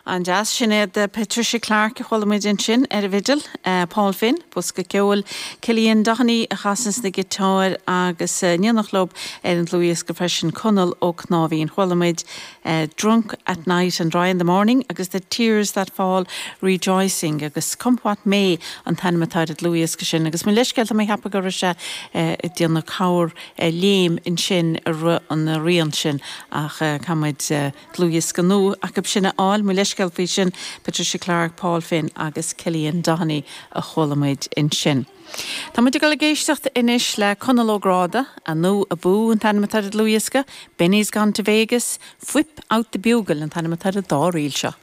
An-deas. Sin iad Patricia Clarke a chuala muid ansin ar an bhfidil, Paul Finn, bosca ceoil, Cillian Doheny a chasanns na giotáir agus in éineacht leo ar an dlúthdhiosca freisin Conall Ó Cnáimhín. Chuala muid Drunk at Night and Dry in the Morning agus The Tears That Fall Rejoicing agus Come What May an t-ainm atá ar an dlúthdhiosca sin agus mo leithscéal tá mé ag ceapadh go raibh sé ag déanamh corr léim ansin i rith an rian sin ach caithfidh muid Dlúthdhiosca nua acu sin a fháil, mo leithscéal faoi sin, Patricia Clarke, Paul Finn agus Cillian Doheny a chuala muid ansin. Tá muid ag dul ag éisteacht anois le Conall Ó Gráda, Anú Abú an t-ainm atá ar an dlúthdhiosca, Benny's Gone to Vegas, Whip Out the Bugle an t-ainm atá ar an dá ríl seo.